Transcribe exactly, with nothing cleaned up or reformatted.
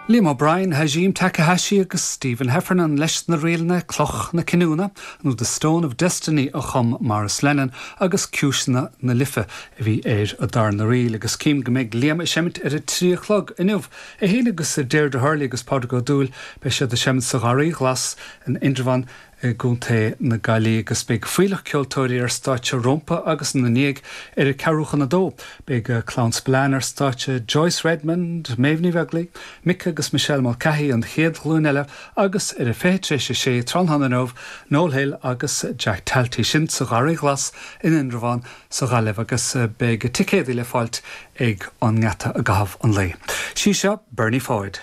Liam O'Brien, Hajime Takahashi agus Stephen Heffernan leis na ríleanna Cloch na Cinniúna nó The Stone of Destiny a chum Maurice Lennon agus Ciúiseanna na Life a bhí ar a darna ríl agus cím go mbeidh Liam ag seimint ar a trí chlog inniu é féin agus Deirdre Hurley agus Pádraig Ó Dúill beidh siad ag seimint sa Gharraí Ghlas in Indreabhán i gContae na Gaillimhe agus beidh fuílleach ceoltóirí ar stáitse rompu agus ina ndiaidh ar a ceathrú chun a dó. Beidh Clann Spillane ar stáitse Joyce Redmond, Méabh Ní Bheaglaoich, Mick agus Michelle Mulcahy an chéad ghlúin eile agus ar a fiche tar éis a sé tráthnóna inniu, Noel Hill agus Jack Talty sin sa Gharraí Ghlas in Indreabhán sa Ghaillimh agus beidh ticéid le fáilt ag an ngeata i gcaitheamh an lae. Sí seo Bernie Floyd.